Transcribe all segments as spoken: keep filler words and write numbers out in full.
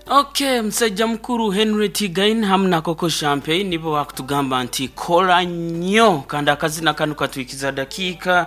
Okay, musajja mukuru Henry Tigain hamu na Coco Champagne nibo bakutugamba nti kola nnyo. Kandi akazina kano katwikiza dakiika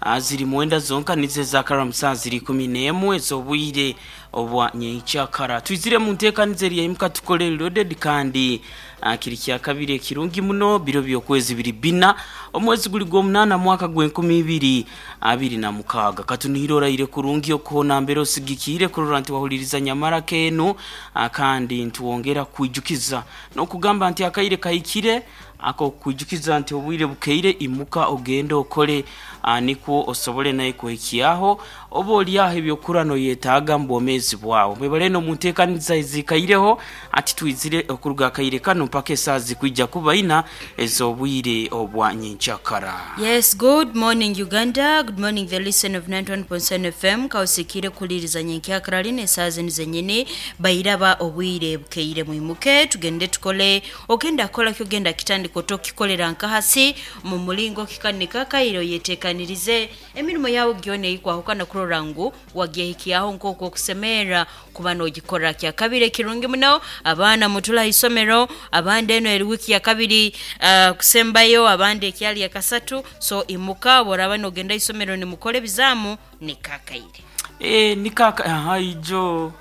ah, ziri mwenda zonka nizo ezakara saa ziri kumi n'emwe ez'obwire obwa nyenkyakara. Twizire mu nteekaniza eryayimuka tukole loaded, kandi ah, kiri kyakabiri ekirungi muno, biro by'okwezi biri bina, omwezi guli gw'omunaana, mwaka gw'enkumi ibiri abiri na mukaaga. Katunihire oraire kurungi okuhona mbere osigikiire kurora nti wahuliriza nyamara kenu, ah, kandi ntuwongera kwijukiza n'okugamba nti akaire kahikire ako kwijukiza nti obwire bukeire, imuka ogende okole, ah, nikwo osobole naye kuhikyaho oba oliaho ebyokura noyetaaga mu bwomeezi bwawe. Mwebale no munteekaniza ezikaireho ati twizire okuruga akaire kano mpaka esaaha zikwija kuba ina ez'obwire obwa nyenkyakara. Yes, good morning, Uganda. Good morning, the listen of ninety-one point seven F M. Kausikire kuliriza nyenkyakara line esaaha zinu zenyini bairaba obwire bukeire, mwimuke tugende tukole. Ogenda kola kyogenda kitandika otokikolera nkahasi mu mulingo kikanika kairo, yetekanirize emirimu yawe gyona eikwahukana kurora ngu wagyehikyaho nk'okwo okusemerera kuba n'ogikora. Kyakabiri ekirungi muno, abaana mutula isomero, abandi eno eri wiiki ya kabiri uh, kusembayo, abandi ekyali ya kasatu. So imuka, bworaba nogenda isomero nimukora ebizaamu, nikakaire. Eh, nikaka aha ijo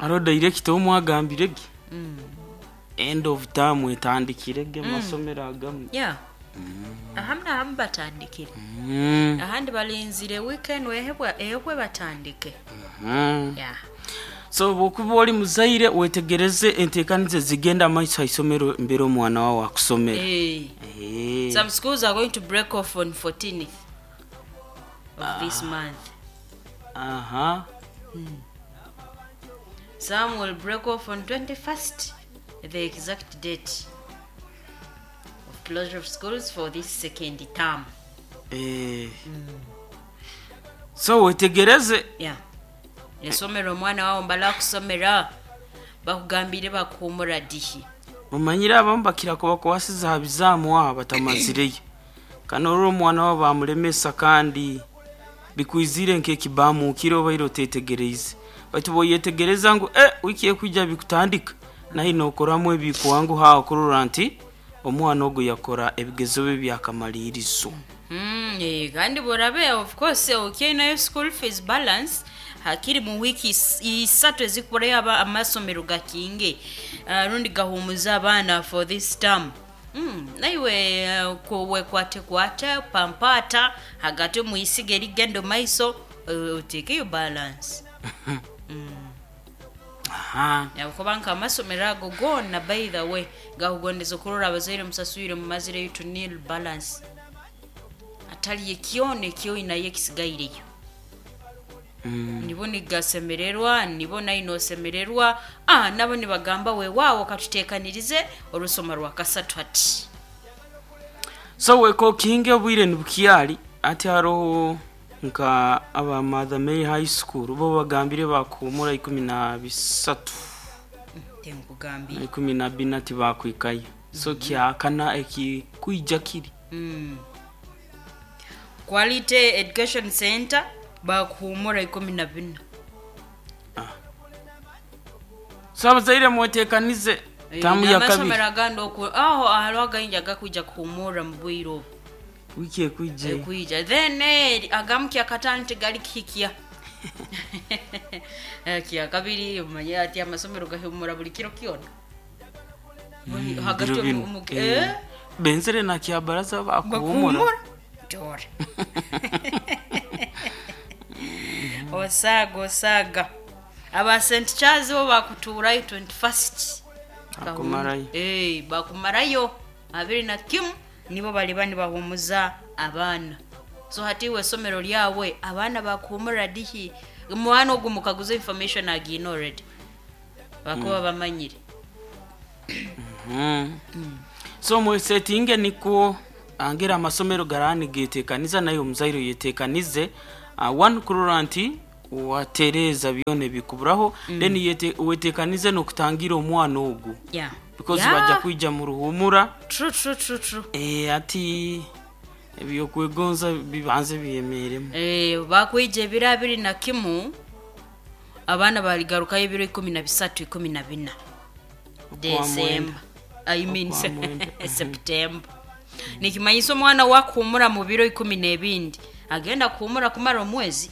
aro director omwagambire ge end of term etandikire ge masomero agamu. Yeah, ahamu nahamu batandikire, Mm. ahandi balinzire weekend wehebwa ehebwe batandike. Mm. Yeah. So bwokuba oli muzaire, wetegereze enteekaniza zigenda maiso haisomero mbere omwana wawe akusomera. Hey. Eh. Some schools are going to break off on fourteenth of this month. Aha. Some will break off on twenty-first, the exact date of closure of schools for this second term. Eh. So wetegereze. Yeah. Esomero omwana wawe mbala kusomera bakugambire bakuhumura dihi? Mumanyire abamu bakira kubakwasiza ha bizaamu aho batamazireyo kandi olwo omwana wabo bamulemesa, kandi bikwizire nk'ekibamukire obaire otetegereize. Baitu bwoyetegereza ngu eh, wiki ekwija bikutandika, naye nokoramu ebikuwangu hawo kurora nti omwana ogwo yakora ebigezo bye byakamalirizo. Mm, eh, kandi borabe of course okyainayo school fees balance hakiri mu wiiki is- isatu ezikuburayo aba amasomero gakinge uh, rundi gahumuza abaana for this term. Mm, naiwe uh, wekwate kwate pampata hagati muisiga erigenda maiso, uh, otekeyo balance. Aha. Yakuba nka amasomero ago gona, by the way, gakugondeza okurora abazaire musaswire mumazireyo to nil balance, atali ekyona ekyoinayo ekisigaireyo. Mm. Nibo nigasemererwa, nibo nayi nosemererwa, ah, nabo nibagamba weewaawo katuteekanirize orusoma rwa kasatu hati. So wekokinge obwire nibukyali. Ati haroho nka aba Mother Mary High School bo bagambire bakuhumura ikumi na bisatu. Tenkugambire. Ikumi na bina tibakwikayo, so kyakana ekikwija kiri. mm. quality Education Center bakuhumura ikumi na bina. So abazaire mwetekanize tamu ya kabiri. Amasomero agandi oku aho hariho againgi agakwija kuhumura mu bwire obu. Wiki ekwija. Ekwija. Then eh, agamu kyakatano tigali kihikya. Eh, kyakabiri omanye ati amasomero gahumura buli kiro kyona. Buli- hagati Biro bino. omu- omu- Eh, eh, benzere na kyabaraza bakuhumura. Bakuhumura dora osaaga osaaga. Aba Saint Charles bo bakutuurayo twenty-first. Bakumarayo. Eh, bakumarayo abiri na kimu, nibo baliba nibahumuza abaana. So hati iwe esomero lyawe abaana bakuhumura dihi? Mwana ogu mukaguza information agiina already, bakuba bamanyire. Mm. So mwesetinge nikwo angera amasomero garani getekaniza, naye omuzaire yetekanize uh, one kurora nti watereza byona ebikuburaho mm. Then yete, wetekanize n'okutangira omwana ogu yeah. because yeah. bajja kwija mu ruhumura. true, true, true, true. E, ati ebyokwegonza bibanze byemeremu. Eh, bakwija ebiro abiri na kimu. Abaana baligarukayo ebiro ikumi na bisatu, ikumi na bina December, I mean Okwa mwenda. September. Nikimanyisa omwana wakuhumura mu biro ikumi n'ebindi, agenda kuhumura kumara omwezi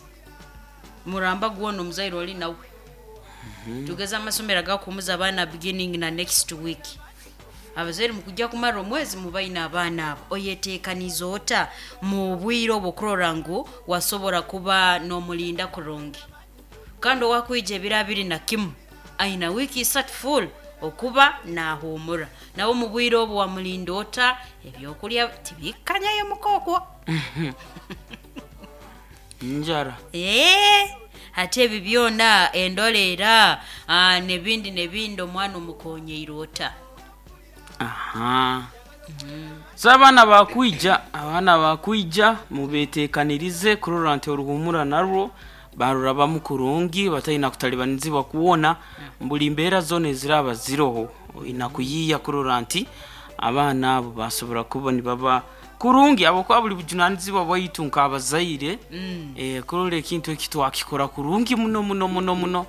muramba gwona omuzaire oli nawe. Tugeze amasomero agakuhumuza abaana beginning na next week. Abazaire mukujja kumara omwezi mubaine abaana abo, oyeteekaniza ota mu bwire obwo kurora ngu wasobora kuba n'omulinda kurungi? Kandi owakwija ebiro abiri na kimu aina wiiki isatu full okuba naahumura nawe. Mu bwire obwo wamulinda ota? Ebyokulya tibikanyayo mukookwo. Njara. Ee, ate ebi byona endolera, ah, nebindi nebindi, omwana omukonyeire ota? Aha, so abaana bakwija, abaana bakwija mubetekanirize kurora nti oruhumura narwo barurabamu kurungi, batalina kutalibanizibwa kuwona buli mbeera zona eziraba ziroho. Oyina kuyiiya kurora nti abaana abo basobora kuba nibaba kurungi, habwokuba buli bujunanizibwa bwaitu nk'abazaire Mm. eh, kurora ekintu eki twakikora kurungi muno muno muno muno,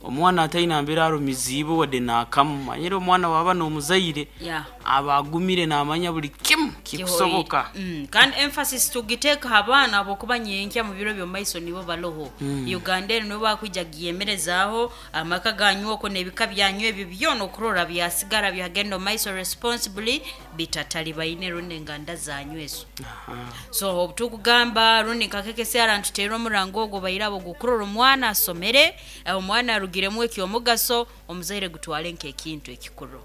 omwana atalina mbeera arumiziibwe wadde naakamu. Manyire omwana waba n'omuzaire yeah. aba agumire, namanya buli kimu kikusoboka. Mm, kandi emphasis tugiteeka ha baana habwokuba nyenkya mu biro by'omumaiso nibo baloho. Uganda eno nibo bakwija giyemerezaaho amaka ganyu okwo n'ebika byanyu ebyo byona okurora byasigara byagenda omumaiso responsibly, bitatalibaine rundi enganda zanyu ezo. So obutukugamba rundi nkakekesera ntuteera omurango ogwo bairabo gukurora omwana asomere, eh, omwana arugiremu ekyomugaso, omuzaire gutwale nk'ekintu ekikuru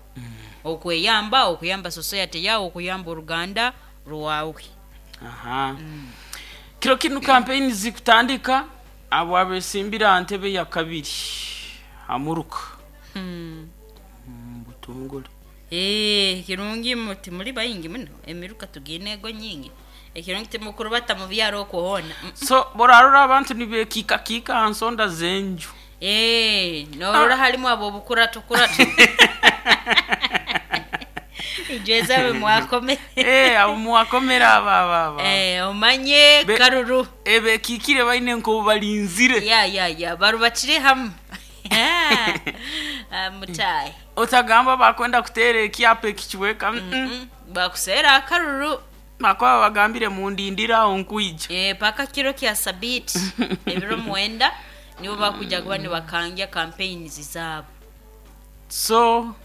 okweyamba, okuyamba society yawe, okuyamba oruganda rwawe. Aha, kiro kinu campaign zikutandika, abo abesimbira ntebe ya kabiri hamuruka. Hmm. Mm, butongole. Eh, kirungi muti muri bayingi muno, emiruka tugiine ego nyingi, ekirungi timukurubata mu byaro okuhona. Mm. So borarora abantu nibekikakika ha nsonda z'enju. Eh, norora halimu abo obukurato kurato ijweza mwakome. Eh, abo mwakomera aba aba aba. Eh, omanye Be- karuru. Ebekikire baine nko balinzire. Ya ya ya, barubatire hamwe. Ah, mutayi. Otagamba bakwenda kuteera ekyapa ekikiweka mm -mm. Mm, bakuseera akaruru. Bakwaba bagambire mundindire aho nkwija. Eh, paka kiro kya sabiti ebiro mwenda nibo bakuja kuba nibakangya campaigns zaabo. So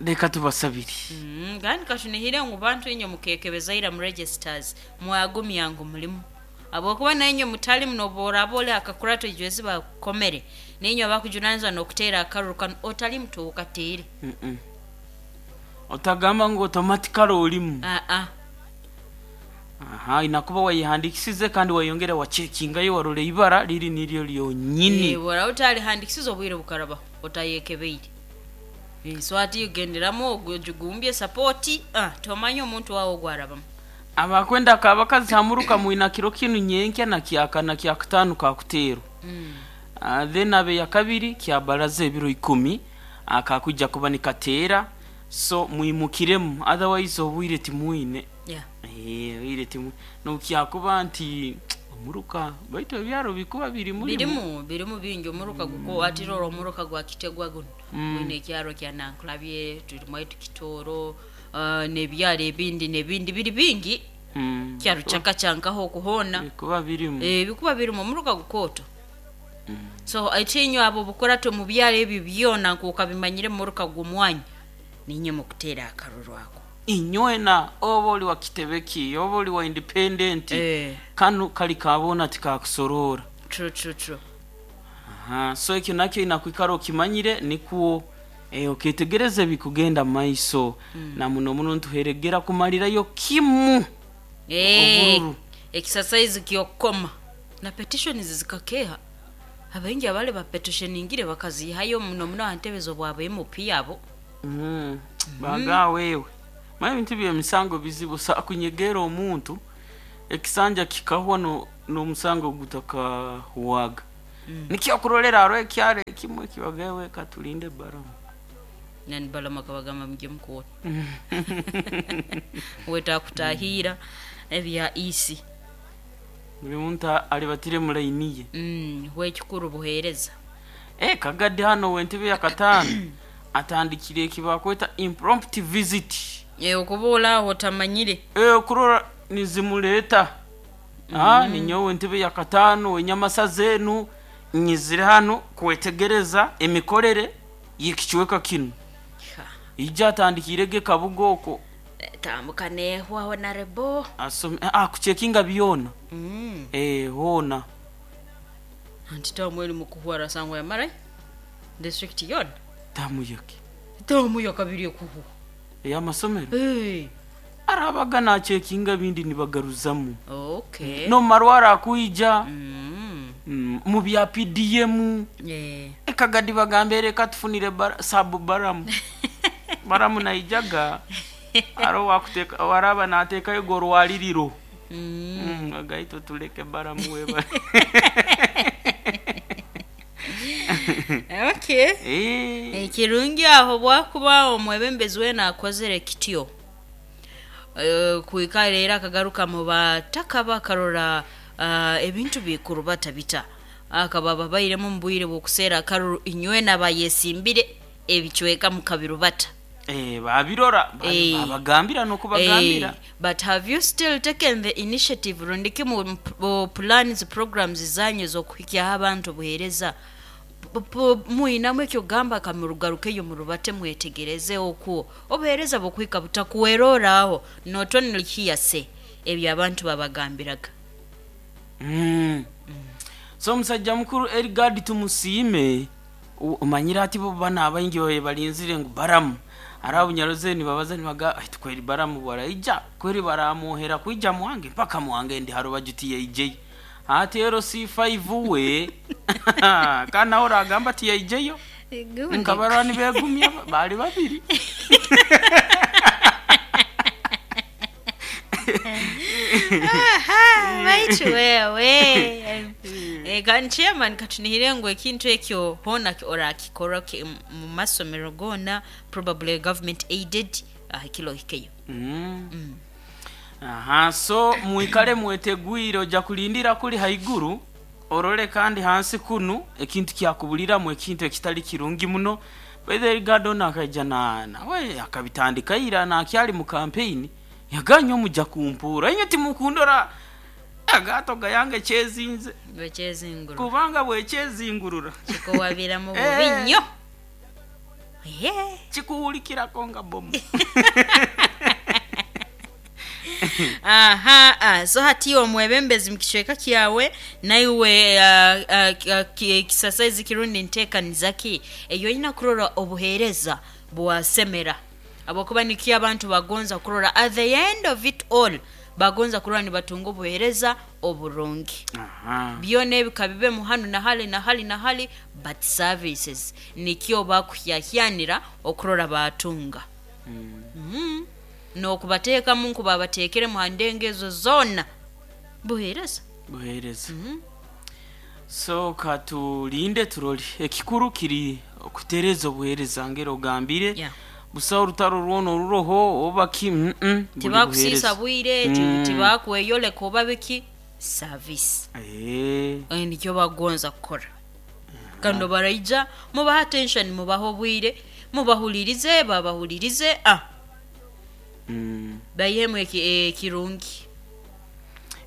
reka tubasabire. Mm, kandi kashunihire ngu bantu inye mukekebeza mu registers mwagumya ngu mulimu, habwokuba nainye mutali muno boraba oli akakurato ijwezi bakomere ninye bakujunanizwa n'okuteera akaruru kanu otali mutuukateere. Mm -mm. Otagamba ngu automatically olimu. Aa. Aha, inakuba wayihandikisize kandi wayongera wachekingayo warora ibara liri niryo lyonyini. Eh, bora utalihandikisiza obwire bukarabaho otayekebeire. Eh, so ati ugenderamu ogumbye sapoti, ah, tomanya omuntu wawe ogwarabamu. Abakwenda kabakazi hamuruka mwina kiro kinu nyenkya na kyakana kyakutano kakuteerwa. Mm. Uh, then abe ya kabiri kyabaraza ebiro ikumi akakujja kuba nikateera, so mwimukiremu, otherwise obwire timwine. Yeah. Eh, obwire timu nokyakuba nti omuruka baitu ebyaro bikuba biri mulimu. Birimu, birimu bingi omuruka guko atirora omuruka gwa kitegwa guno. Mm. Gwine ekyaro kya Nankulabye, turimu aitu Kitooro, uh, n'ebyaro ebindi n'ebindi biri bingi. Mm. Kyaro kyakacyankaho okuhona. Bikuba birimu. Eh, bikuba birimu omuruka gukooto. So ekinyo abo bukurato mu byaro ebyo byona nkuka bimanyire muruka gw'omwanya ninye mukuteera akaruru ako. Inywena oba oli wa kitebeki oba oli wa independent, Eh. kanu kali kabona tikakusorora. True, true, true. Aha, so ekyo nakyo inakwikara okimanyire nikuwo eh, oketegereza ebikugenda mu maiso mm. Na muno muno ntuheregera kumalirayo kimu Eh, obululu. Exercise kyokoma na petitions zikakeha, abaingi abale bapetissioningire bakazihayo muno muno aha ntebe z'obwaba M P abo. mm. Baga wewe manya ebintu byemisango bizibu, sa kunyegera omuntu ekisanja kikahwa no n'omusango gutakahuwaga mm. Nikyo kurolera aro ekyaro ekimwe kibagawe katulinde baramu. Nani balama kabagamba muje mukuwona wetakutahira ebya isi. Buli muntu alibatire mulainiye. Mm, wekikuru buhereza. Eh, Kagadi hano wentebe ya kataano atandikire ekibakweta impromptu visit. Eh, okubuula aho otamanyire. Eh, okurora nizimuleeta. Ah, ninyowe entebe ya kataano wenyamasa zenu nyizire hano kwetegereza emikorere y'ekicweka kinu. Ijja atandikire ge Kabuga okwo. Tambuka nehwa honorable. Asome ah, kuchekinga byona. Mm. Eh, hona. Anti tamu eri mukuhwara sangwa ya marai district yona. Tamu yaki Tamu yakabiri ekuhu. ey'amasomero. Hey. Arabaga nachekinga bindi nibagaruzamu. Okay. No marwara akuija. Mm. Mm, mu bya P D M. Yeah. Ekagadi bagambe reka tufunire bar, sabu baramu. Baramu naijaga aro wakuteka waraba natekayo gorwaliriro. Mm. Mm, agaito tuleke baramu weba. Okay. Eh. Ekirungi aho bwakuba omwebembezi wena akozere kityo. Eh, kuikara era akagaruka mu bataka bakarora uh, ebintu bikuru batabita. Akaba babairemu mbwire bwokuseera akaruru inywe nabayesimbire ebicweka mu kabiru bata. Eh, babirora Eh. babagambira nokubagambira. Eh, but have you still taken the initiative rundiki mu mu plans programs zanyu zokuhikyaho abantu buhereza muinamu ekyo gamba kamurugarukeyo murubate mwetegereze okwo obuhereza bukwika butakuweroraho not only hearsay ebyo abantu babagambiraga. Mm. So omusajja mukuru Erigadi Tumusiime omanyira ati bo bana abaingi babe balinzire ngu baramu arabu nyaroze nibabaza nibaga ati kweri baramu baraija kweri baramuhera kuija mwange mpaka mwange ndi haro bajutiye ije ati ero C five we kana ora agamba ati yaijeyo nkabarwa nibegumya bali babiri. Aha, baitu wewe. Eh, kan chairman katunihire ngo ekintu ekyo hona orakikora mu masomero gona probably government aided uh, kilo hikeyo. Mm. Mm. Aha, so muikale mwetegwire oja kulindira kuli haiguru orole kandi hansi kunu ekintu kyakubulira mu ekintu ekitali kirungi muno. Whether Gardon akaija na nawe akabitandika ira na akyali mu campaign yaganye omuja kumpura inyo timukundora agato gayange kyezinze bwechezingurura kubanga bwechezingurura kikowabira mu bubi nnyo. Yeah. Kikuwulikirako nga bomu. Aha, ah, so hati omwebembezi mukicweka kyawe naiwe uh, uh, kisasaizi kirundi nteekanizaki eyo oyina kurora obuheereza bwasemera abakuba nikyo abantu bagonza kurora at the end of it all bagonza kurora nibatunga obuheereza oburungi. Byona ebika bibe muhanu na hali na hali na hali but services nikyo bakuhyahyanira okurora batunga. Mm. Mm. Nokubateekamu nkuba bateekere mu handenge ezo zonna buheereza buheereza. Mm -hmm. So katulinde turoli ekikuru kiri okutereza obuheereza ngero ogambire. Yeah. Busa orutaro rwono oruroho oba ki mm -mm, tibakusiisa bwire Mm. tibakweyoleka oba biki service Eh. eh, nikyo bagonza kukora kandi baraija mubaha attention mubaha obwire mubahulirize babahulirize ah Mm. bayihemu ekirungi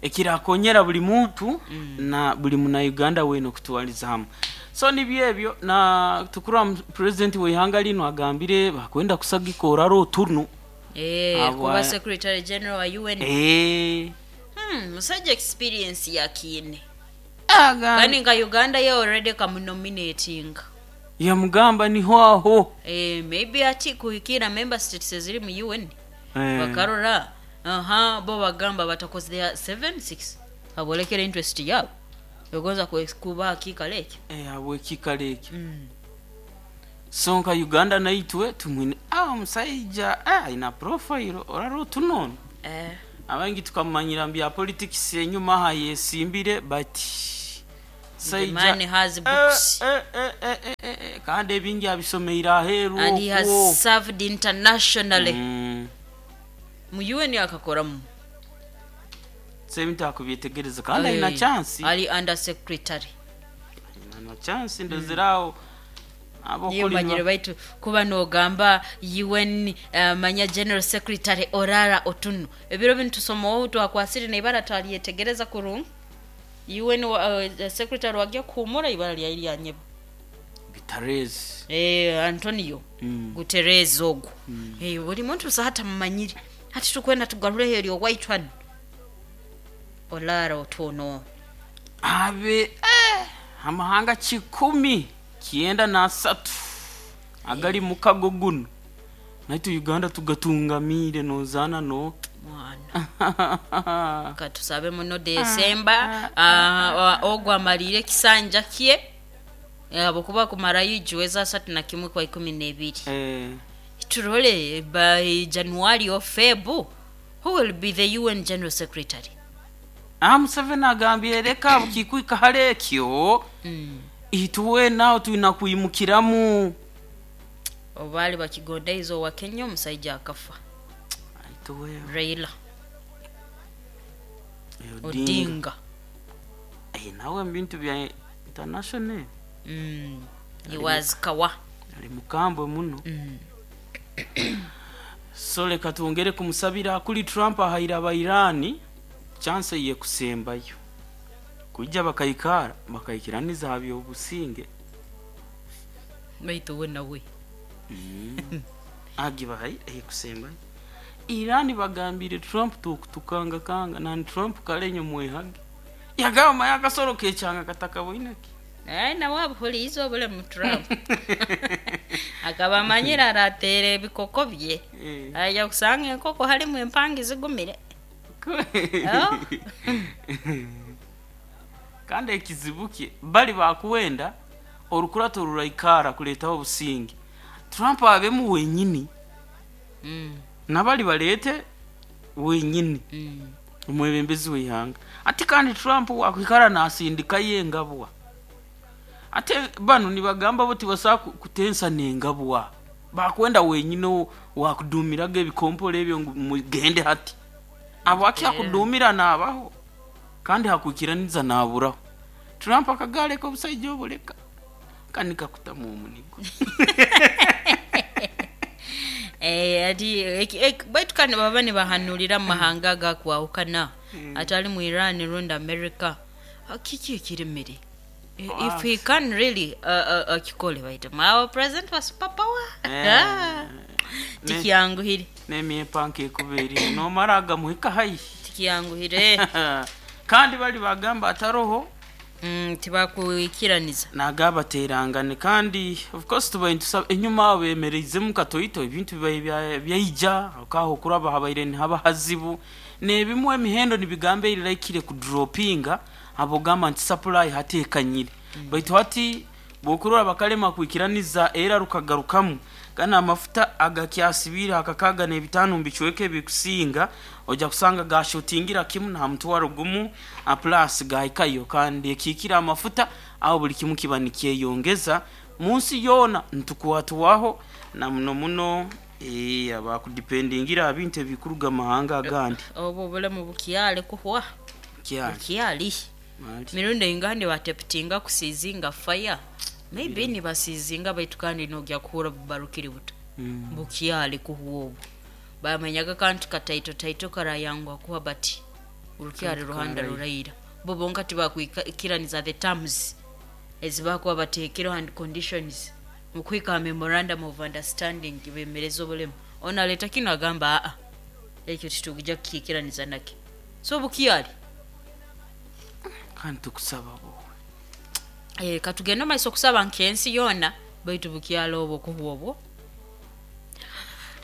ekirakonyera buli muntu mm. na buli muna Uganda weno kutwaliza hamwe. So nibyo ebyo na tukura president w'ihanga lino agambire bakwenda kusagika oraro turnu eh Abwa- kuba secretary general wa U N. eh hmm musajja experience yakine aga kandi nga Uganda ye already kamunominating yamugamba niho aho eh maybe ati kuhikira member states eziri mu U N eh. bakarora aha bo bagamba batakoze their seven six abolekera interest yabo yogonza kuba hakika leke eh abo ekikalo ekyo mm. So nka Uganda naitwe tumwine ah omusajja ah ina profile oraro tunono eh abangi tukamanyira mbya politics enyuma ha yesimbire but The man has books. eh, eh, eh, eh, eh, eh, kandi ebingi abisomeire aheeru and he has okwo. served internationally Mm. mu U N akakoramu So ebintu akubyetegereza kandi alina Eh, chance ali under secretary Na chance ndozeraho Niyo manyire baitu kuba nogamba U N, uh, manya General Secretary Orara Otunu. Ebiro binu tusomaho twakwasire neibara twalyetegereza kurungi. U N wa, uh, secretary wagya kuhumura, ibara lyai lyanyeba. Guterres. Eh, Antonio Mm. Guterres ogwo. Eh, buli muntu busa hata mumanyire. Hati tukwenda tugarureho eryo white one, Olara Otuno. Abe eh, amahanga kikumi kyenda n'asatu agali mukago guno, naitu Uganda tugatungamire nozaana no Mwana, katusabe muno Desemba ah, ogwo amalire ekisanja kye abukuba kumarayo ijuweza asatu na kimwe kwa ikumi n'ebiri. Eh, Turole by January or Feb who will be the U N General Secretary. Ah, Museveni agambye reka bukikwika hali ekyo, ituwe nawe tulina kuyimukiramu. Obaali bakigondaiza owa Kenya omusaija akafa. Ituwe Raila Odinga. Odinga. Eh, nawe mu bintu bya international. mm. he was kawa. Ali mukambwe muno. mm. So leka twongere kumusabira kuli Trump ahaire abairani chance ye kusembayo kujja bakayikara bakayikiraniza ha byobusinge. Baitu we nawe Agibahaire ekusembayo. Irani bagambire Trump tukutukangakanga nani Trump kalenyo mwehage yagamba yakasoro kekyanga katakaboineki. Naye nawe abuhuliiza obulemu. Trump akaba amanyire arateera ebikoko bye. Eh. Aja kusanga enkoko halimu empangi zigumire. Oh. Kandi ekizibu kye bali bakuwenda orukurato ruraikara kuleetaho obusinge, Trump abemu wenyini, Mm, nabali baleete wenyini, mm. omwebembezi w'eihanga. Ate kandi Trump wakwikara nasindikayo engabwa, ate bano nibagamba bo tibasobola ku- kutensa nengabwa, bakwenda wenyini wakudumiraga ebikompolo ebyo ngu mugende. Hati abo akyakudumira naabaho kandi hakwikiraniza naaburaho. Trump akagaleka obusaija obuleka kandi kakutamu omunigo. Eh, ati eki- eki- baitu kandi baba nibahanurira mu mahanga agakwahukana atali mu Iran rundi America. Ah, kiki ekiremere? Eh, if he can really uh, uh, akikole, baitu our president wa superpower. Eh. Ah, tikyanguhire. N'emyepanka ekuba eriho nomara agamuhika haihi. Tikyanguhire. Kandi bali bagamba ataroho. Mm, tibakwikiraniza. Nagabaterangane kandi of course tubaye ntusaba enyuma abo bemereizemu katoito ebintu bibaye bya- byaija okaho kuraba habaire nihaba hazibu nebimu emihendo nibigamba erirakire kudropinga abo gamba nti supply hatekanyire. Baitu hati bokurora bakalema kwikiraniza era rukagarukamu gana amafuta agakyasibire akakaga n'ebitaano mbicweke bikusinga ojja kusanga gashutingira kimu na mutwaro gumu a plus gahikayo kandi ekikira amafuta aho buli kimu kiba nikyeyongeza munsi yoona ntukwatwaho na muno muno eh, abakudipendingira abintu ebikuruga mahanga agandi. Obwo obulemu bukyali kuhwa. Kyali. Bukyali. Mali. Mirundi ingandi bateputinga kusizinga fire, maybe nibasizinga, baitu kandi nogya kuhura bubarukiri buto. Mm. Bukyali kuhwa obwo bamanyaga kantu kataito taito karayangwa kuha bati urukyali ruhanda ruraira bo bonka tibakwikiraniza the terms ezibakuba bateekereho and conditions mukwika memorandum of understanding bemereza obulemu. Ono aleeta kino agamba aa ekyo titugija kukikiraniza nake, so bukyali. Kandi tukusaba bowe. Eh, katugende maiso okusaba nkensi yoona, baitu bukyalo obwo kuhwa obwo.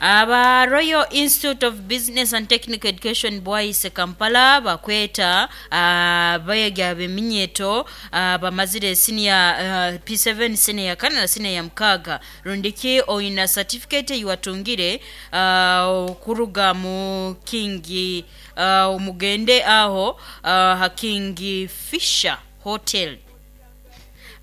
Aba Royal Institute of Business and Technical Education Bwaise Kampala bakweta uh, bayega beminyeto uh, bamazire senior uh, P seven, senior ya kane na senior ya mukaaga, rundiki oina certificate yiwatungire uh, kuruga mu King, uh, mugende aho uh, ha King Fisher Hotel,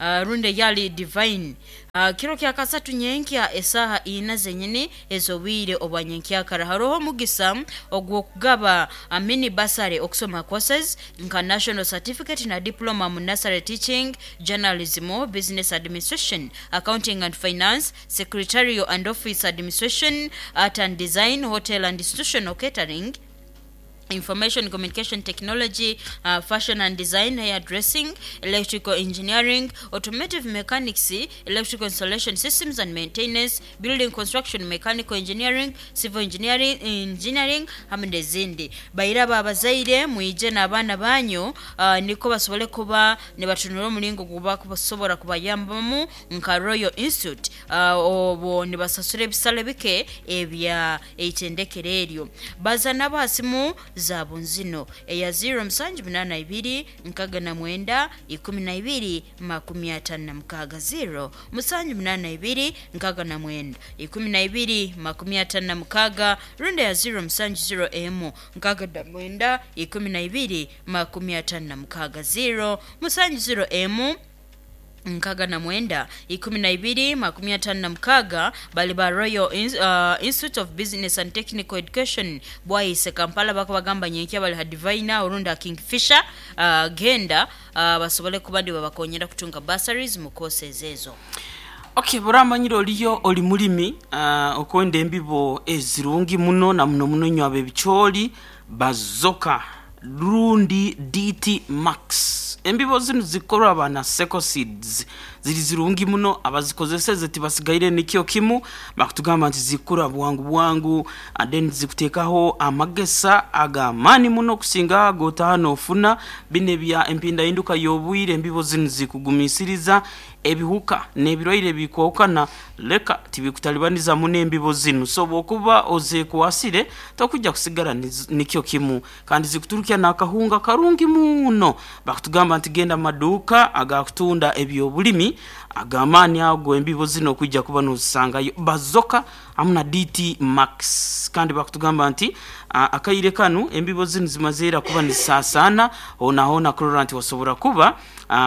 uh, runde yali Divine. uh, kiro kya kasatu nyenkya esaha ina zenyini ezobwire obwa nyenkyakara. Haroho omugisa ogw'okugaba uh, mini basare okusoma courses nka national certificate na diploma mu nursery teaching, journalism, business administration, accounting and finance, secretarial and office administration, art and design, hotel and institutional catering, information communication technology, uh, fashion and design, hair dressing, electrical engineering, automotive mechanics, electrical installation systems and maintenance, building construction, mechanical engineering, civil engineering, engineering hamwe n'ezindi. Bairaba abazaire mwije n'abaana banyu, uh, niko basobole kuba nibatunura omulingo guba kubasobora kubayambamu nka Royal Institute, uh, obwo nibasasura ebisale bike ebya eitendekero eryo. Baza nabo hasimu zabo nzino eya ziro musanju munana ibiri nkaga na mwenda ikumi na ibiri makumi atano na mukaga, ziro musanju munana ibiri nkaga na mwenda ikumi na ibiri makumi atano na mukaga, runda ya ziro musanju ziro emu nkaga na mwenda ikumi na ibiri makumi atano na mukaga, ziro musanju ziro emu nkaga na mwenda ikumi na ibiri makumi atano na mukaga. Bali ba Royal uh, Institute of Business and Technical Education Bwaise Kampala bakabagamba nyenkya bali hadivina orunda Kingfisher, uh, genda uh, basobole kuba ndi babakonyera kutunga bursaries mu courses ezo. Okay, buramanyiro oliyo oli mulimi, uh, okwenda embibo ezirungi muno na muno muno nywa ebicholi bazoka rundi D T Max. Embibo zino zikorwa bana Seko Seeds, ziri zirungi muno, abazikozeseze tibasigaire nikyo kimu bakutugamba nti zikura bwangu bwangu, and then zikutekaho amagesa agamani muno kusinga gotano ofuna bine bya empinda induka yobwire. Embibo zino zikugumisiriza ebihuka n'ebirwaire bikwokana leka tibikutalibaniza muno embibo zino, so bwokuba oze kuwasire tokujja kusigara nikyo kimu, kandi zikuturukya nakahunga karungi muno. Bakutugamba nti genda maduka agakutunda ebyobulimi agamani ago embibo zino kujja kuba nozisangayo bazoka amuna D T Max. Kandi bakutugamba nti akaire kanu embibo zino zimazeera kuba nisasana ona hona kurora nti wasobora kuba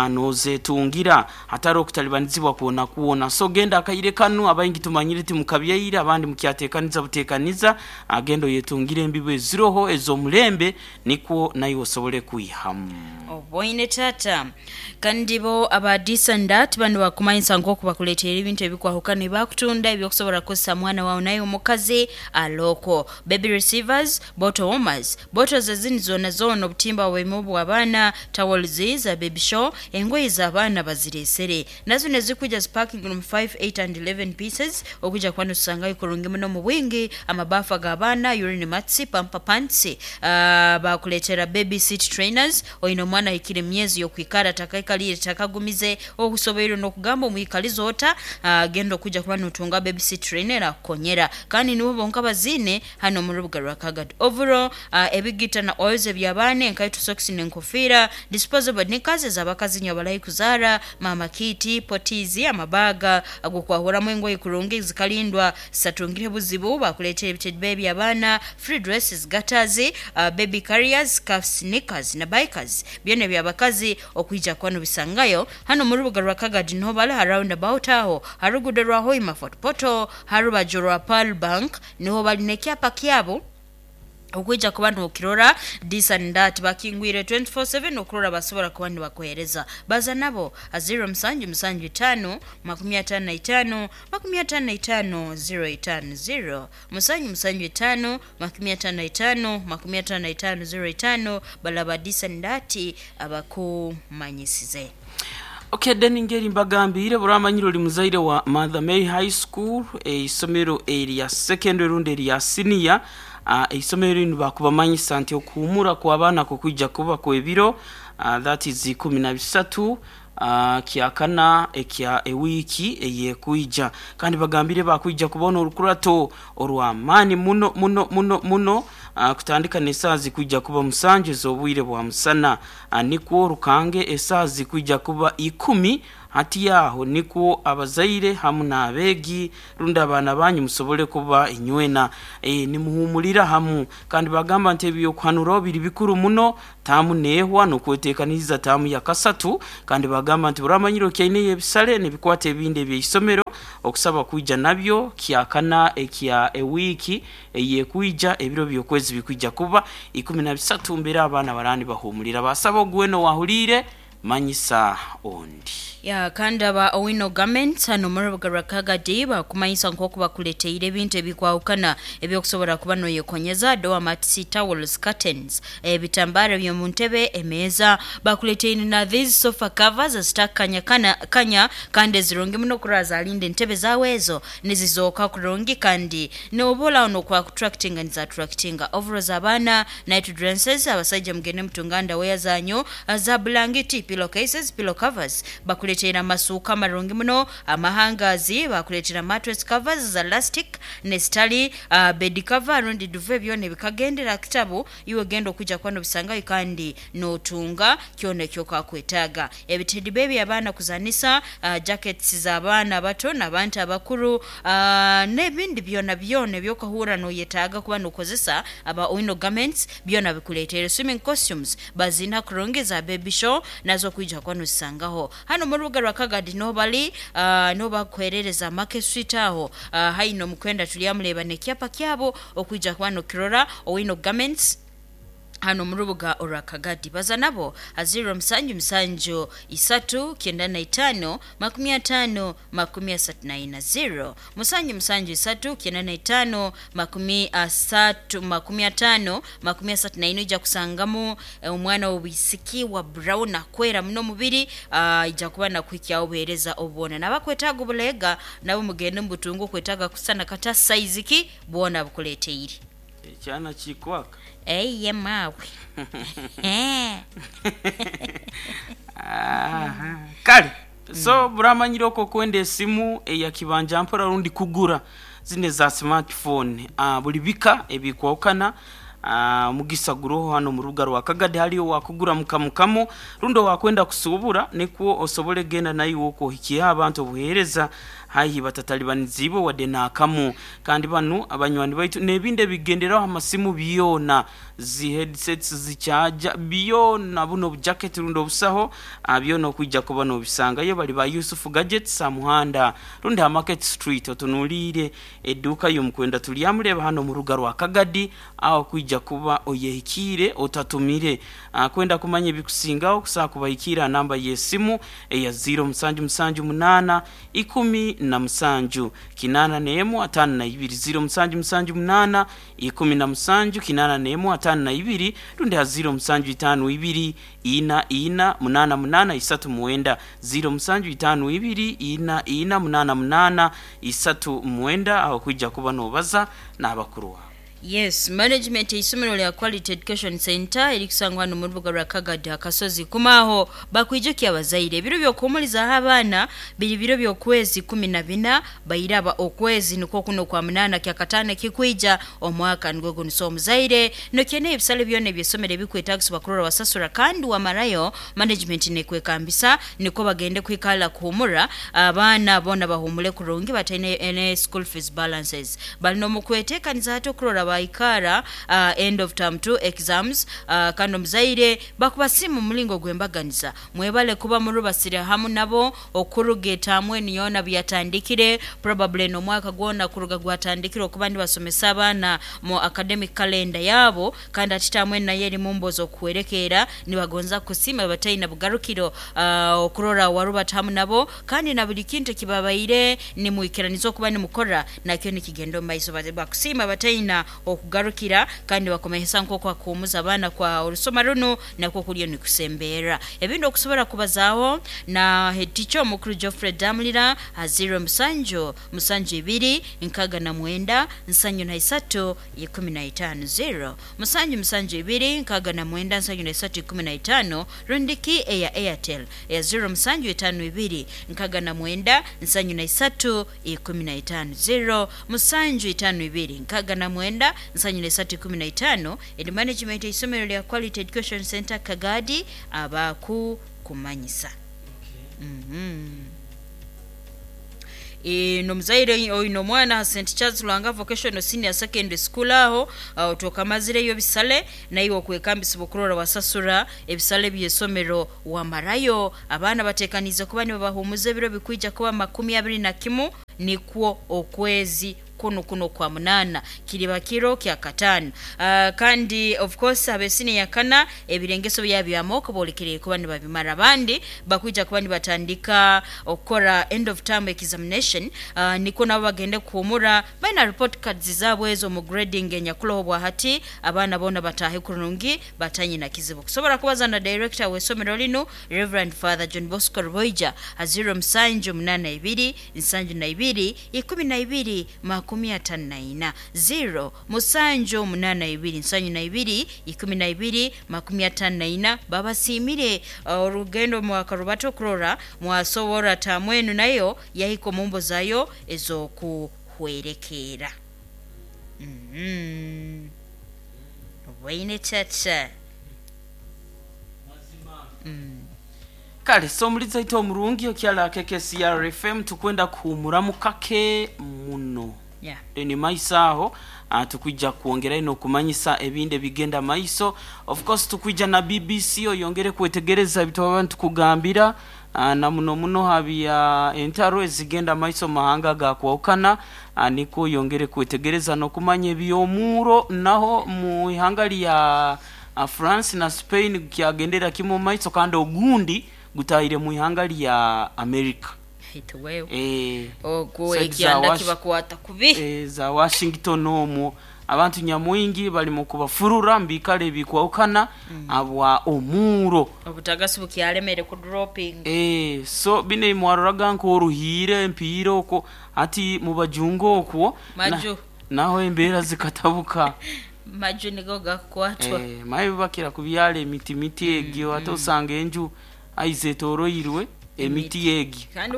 nozetungira hatari okutalibanizibwa kuona kuona. So genda akaire kanu abayingi tumanyire ti mukabyaire abandi mukyatekaniza butekaniza, agendo yetungira embibo eziroho ezomulembe nikwo nayo osobole kuyihamu. Oboine tata kandi bo abadisandat bano bakumanyisa nk'oku bakuleetera ebintu ebikwahukana ebakutunda ebyokusobola kukozesa mwana wawe naye omukazi aloko baby receivers, bottle warmers, bottles ezindi zona zona, obutimba bwemu bw'abaana, towels za baby show, engoye z'abaana bazireesere nazo nezikuja sparking room five, eight and eleven pieces okuja kwano tusangayo kurungi muno mu bwingi, amabafa g'abaana, urine mats, pamper pants, uh, bakuleetera baby seat trainers, oyina omwana ahikire emyezi yokwikara takaikalire takagumize okusoboire n'okugamba omwikaliza ota, uh, genda okuja kuba notunga baby seat trainer akukonyera. Kandi nibo bonka bazine hano mu rubuga rwa Kagadi. Overall, uh, ebigita na oils eby'abaana, enkaito, socks n'enkofiira, disposable knickers ez'abakazi nyo abalayi kuzaara, mama kiti, potizi, amabaga agokwahuramu engoye kurungi zikalindwa zisatungire buzibu, bakuleetera ebitebe by'abaana, free dresses, gutters, uh, baby carriers, scarves, knickers na bikers byona by'abakazi okwija kwano bisangayo hano mu rubuga rwa Kagadi niho bali ha roundabout aho harugudo rwa Hoima Fort Portal harubajo rwa Pearl Bank niho bali n'ekyapa kyabo okwija kuba nokirora this and that bakingwire twenty-four seven okurora basobora kuba nibakuhereza. Baza nabo zero musanju musanju tano makumi atano na itano makumi atano na itano zero itano zero musanju musanju tano makumi atano na itano makumi atano na itano zero itano balaba this and that abakumanyisize. Okay, then ngeri mbagambire buramanyiro oli muzaire wa Mother Mary High School eisomero erya secondary rundi erya senior, uh, eisomero lino bakubamanyisa nti okuhumura kw'abaana kukwijja kuba kw'ebiro, uh, that is ikumi na bisatu, uh, kyakana ekya ewiki eyekuija. Kandi bagambire bakuija kubona orukurato orw'amaani muno muno muno muno, uh, kutandika n'esaazi kuija kuba musanju ez'obwire bwa musana, uh, nikwo rukange esaazi kuija kuba ikumi Hati yaho nikwo abazaire hamu n'abeegi rundi abaana banyu musobole kuba inywena e, nimuhumulira hamu. Kandi bagamba nti ebyokuhanuraho biri bikuru muno taamu neehwa n'okweteekaniza taamu ya kasatu. Kandi bagamba nti buramanyire okyaine ebisale nebikwata ebindi ebyeisomero okusaba kwija nabyo kyakana ekya ewiiki eyekwija ebiro byokwezi bikwija kuba ikumi na bisatu mbere abaana barani bahumulira. Basaba ogweno wahulire manyisa ondi. Ya kandi aba Owino Garments hano muri rubuga Kagadi bakumanyisa nk'oku bakuleteire ebintu ebikwahukana ebyokusobora kuba noyekonyeza doormats, towels, curtains, ebitambara by'omu ntebe, emeeza. Bakuleteire na these sofa covers ezitakanya kana kanya kandi ezirungi muno kuraza alinda entebe zawe ezo nizizooka kurungi kandi nobola ono kwa kutractinga niza attractinga overalls abaana, night dresses, abasajja mugende mutunganda weya zanyu za blanketi, pillowcases, pillow covers. Bakuleetera amasuuka amarungi muno, amahangazi, bakuleetera mattress covers za elastic nesitali, uh, bed cover rundi duve byona ebikagendera kitabu iwe genda okujja kuba nobisangayo kandi notunga kyona ekyokakwetaaga. Ebitedi bebi abaana kuzanisa, uh, jackets z'abaana abato n'abantu abakuru, uh, n'ebindi byona byona ebyokahura noyetaaga kuba nokozesa aba Owino Garments byona bikuleetere. Swimming costumes bazina kurungi za baby show nazo kwijja kuba nozisangaho hano mu rubuga rwa Kagadi. Nobali uh, nobakwerereza Market Street aho uh, haino mukwenda tulyamuleba nekyapa kyabo okwijja kuba nokirora Owino Garments hano mu rubuga orwa Kagadi. Baza nabo aziro musanju musanju isatu kyenda na itano makumi atano makumi asatu na ina, zero musanju musanju isatu kyenda na itano makumi asatu makumi atano makumi asatu na ina. Ija kusangamu eh, omwana w'obwisiki wa brown akwera muno mubiri, uh, ija kuba nakuhikyaho obuheereza obwona nabakwetaaga obulega nabo mugende mubutungu okwetaaga kusana kata size ki bwona bukuleteire. Ekyana kikwaka eye mawe. Aha. Kale so buramanyire oko kwenda esimu eya kibanja mpora rundi kugura zine za smartphone, uh, buli bika ebikwawukana. Uh, mugisa guroho hano mu rubuga rwa Kagadi haliyo wakugura mukamukamu rundi wakwenda kusubura nikwo osobole genda nayo okuhikiya abantu obuheereza haihi batatalibaniziibwe wadde naakamu. Kandi banu abanywani baitu n'ebindi ebigenderaho amasimu byona zi headsets zichaja byona buno obujacket rundi obusaho ah, byona okwijja kuba nobisangayo. Bali ba Yusufu Gadgets amuhanda rundi ha Market Street otunuliire edduuka y'omukwenda tulyamuleba hano mu rubuga rwa Kagadi aho kwijja kuba oyehikiire otatumire. Ah, kwenda kumanya ebikusingaho kusaa kubahikiira namba y'esimu eya ziro musanju musanju munaana ikumi na musanju kinana n'emu ataano na ibiri, ziro musanju musanju munaana ikumi na musanju kinana n'emu ataano na ibiri rundi ha ziro musanju itaano ibiri ina ina munaana munaana isatu mwenda, ziro musanju itaano ibiri ina ina munaana munaana isatu mwenda aho kwijja kuba nobaza n'abakuru wawe. Yes, management y'isomero lya Quality Education Center erikusangwa hano mu rubuga rwa Kagadi akasozi kumaho bakwijukia abazaire ebiro by'okuhumulizaho abaana biri biro by'okwezi kumi na bina bairaba okwezi nikwo kuno kwa munana kyakataano kikwija omwaka nigwo guno. So omuzaire nokyene ebisale byona eby'essomero ebikwetagisa kurora wasasura kandi wamarayo management nekwekambisa niko bagende kwikala kuhumura abaana bona bahumule kurungi bataine ene school fees balances balina omukweteekaniza hati okurora baikara uh, end of term two exams, uh, kandi omuzaire bakuba simu mulingo gwembaganiza mwebale kuba murubasire hamu nabo okuruga etamwe niyona byatandikire probably n'omwaka gwona kuruga gwatandikire okuba ndibasomesa abaana mu academic calendar yabo. Kandi ati tamwe naye eri mumbozo okuwerekeera nibagonza kusima bataina bugarukiro uh, okurora warubata hamu nabo kandi na buli kintu kibabaire nimwikiraniza okuba nimukora nakyo nikigenda omu maiso. Bakusima bataina okugarukira kandi bakomehesa nk'oku akuhumuza abaana kwa orusoma runo nakwo kulyo nikusembeera ebindi okusobola kubazaaho na head teacher omukuru Geoffrey Damulira ha zero musanju musanju ibiri nkaga na mwenda nsanju na isatu ikumi na itaano, zero musanju musanju ibiri nkaga na mwenda nsanju na isatu ikumi na itaano rundiki eya Airtel eya zero musanju itaano ibiri nkaga na mwenda nsanju na isatu ikumi na itaano, zero musanju itaano ibiri nkaga na mwenda nsanju na isatu ikumi na itaano. Eri management y'isomero lya Quality Education Center Kagadi abaku kumanyisa. Mm-hmm. E, nomuzaire oyina omwana ha St Charles Lwanga Vocational Senior Secondary School aho uh, otokamazireyo ebisale, naiwe okwekambisibwa okurora wasasura ebisale by'esomero wamarayo. Abaana batekanize kuba nibabahumuza ebiro bikwija kuba makumi abiri na kimu nikwo okwezi kuno kuno kwa munana kiriba kiro kya katano. Uh, kandi of course abesini yakana ebirengeso byabyamoko bolekere kuba nibabimara, abandi bakwija kuba nibatandika okukora end of term examination. uh, niko nabo bagende kuhumura baina report cards zabwe ezo mu grading enyakuloho bwa hati abaana bona batahe kurungi batanye na kizibu. Kusobora kubaza na director w'esomero lino Reverend Father John Bosco Rwoija aziro musanju munana ibiri nsanju na ibiri ikumi na ibiri makumi atano na ina zero musanju munana ibiri nsanju na ibiri ikumi na ibiri makumi atano na ina. Babasimire orugendo mwakarubato kurora mwasobora tamwenu nayo yahiko mumbo zayo ezokuhwerekera. Mm-hmm. Waine chacha. Mm. Kale so muliza ito omurungi okyala K C R F M tukwenda kuhumuramu kake muno. Yeah. Ni maiso aho tukwijja kuongera ino kumanyisa ebinde bigenda maiso. Of course tukwija na B B C oyongere kwetegereza ebintu abantu kugambira na muno muno habya entaro ezigenda maiso mahanga ga kwawukana, niko yongere kwetegereza no kumanya ebyomuro naho mu ihanga lya France na Spain kyagendera kimu maiso kandi ogundi gutahire mu ihanga lya America. Hituwewe. Eh, ogwo ekyanda kibakwata kubi. Eh, za Washington omwo abantu nyamwingi bali mu kubafurura mbikale bikwawukana mm. abwa omuro obutagasi bukyalemere ku dropping. Eh, so bine mwaroraga nko oruhire empiro oko ati mubajungo okwo maju na, naho embera zikatabuka maju nigo gakwatwa. Eh, mayi bakira kubyala emiti miti egyo mm, ate osanga enju aizetoroirwe emiti yegi kandi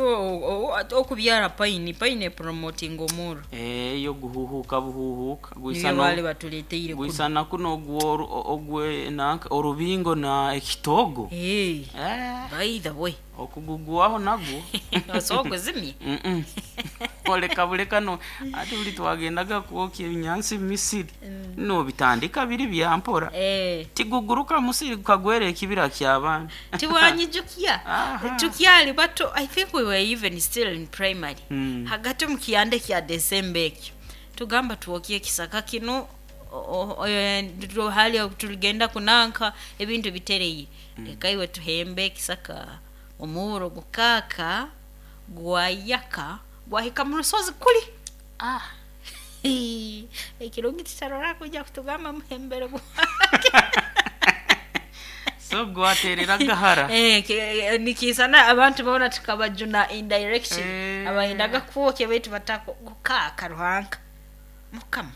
okubyara paini paini promoting omuro eh yo guhuhuka buhuhuka guisana wale batuleteire guisana kuno ogwo ogwe nanka orubingo na ekitogo eh eh by the way okugugwaho nagwo osogwe zimye mm oleka buleka no ati buli twagendaga kuokya ebinyansi misiri mm. no bitandika biri byampora eh tiguguruka musiri kagwere ekibira ky'abaana tiwanyijukia tukyali bato. I think we were even still in primary mm. hagati mu kiyande kya December ekyo tugamba tuwokie kisaka kino hali tuligenda kunanka ebintu bitereye mm. Leka iwe tuhembe kisaka omuro gukaka gwayaka gwahika mu rusozi kuli ah ekirungi titarora kujja kutugamba muhembere so gwaterera gahara eh nikisana abantu babona tukabajuna in direction eh. Abayendaga kuwoke betu batako gukaka ruhanka mukama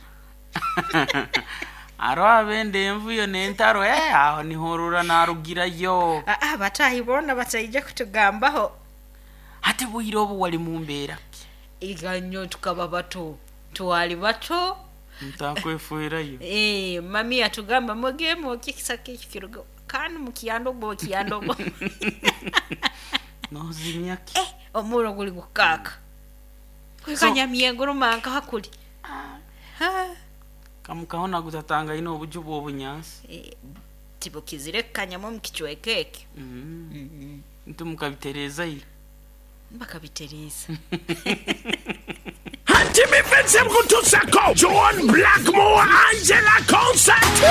aro abende envuyo nentaro eh aho nihorura narugira yo ah ah batahibona batayije kutugambaho ate bwiro obu wali mumbera iganyo tukaba bato twali bato ntakwefuirayo eh mami atugamba mugemo kikisaka kirugo kandi mukiyando gwo kiyando gwo no zimyaki eh omuro guli gukaka kwekanya miyengo rumanka hakuli ah. Ha kamukaona gutatanga ino obuju bw'obunyansi eh tibukizire kanyamo mukichwekeke mm -hmm. mm -hmm. Ntumukabitereza yi bakabitereza Jimmy Vincent Kutusako, John Blackmore, Angela Concert.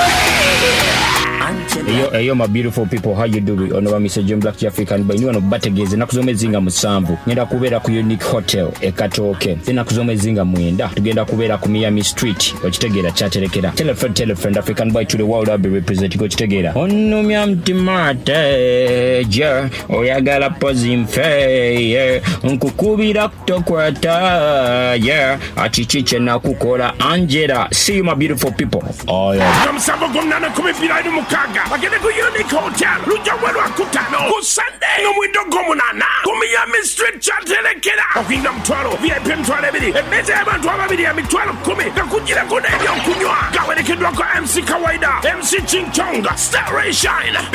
Eyo, eyo my beautiful people, how you doing? Ono ba Mister John Black African by nyuano bategeze nakuzoma ezinga musanvu. Ngenda kubeera ku Unique Hotel e Katooke. Then nakuzoma ezinga mwenda. Tugenda kubeera ku Miami Street. Okitegeera kyaterekera. Tell a friend, tell a friend, African boy to the world I'll be representing. Okitegeera. Onumya mtima teje, oyagala pozi nfe, yeah. Nkukubira kutokwata, yeah. Achichiche nakukola Angela. See you my beautiful people. Oh yeah. Musanvu gumnana kumi bibiri mukaga. Bagende ku Unique Hotel. Lujja welwa kutano. Ku Sunday n'omwindo gw'omunaana. Ku Miami Street kyaterekera. Okuyingira mutwalo V I P mitwalo ebiri. Emmeeza y'abantu ababiri ya mitwalo kkumi. Gakugireko n'ebyokunywa. Gawerekeddwako M C Kawaida, M C Ching Chong, Star Ray Shine, B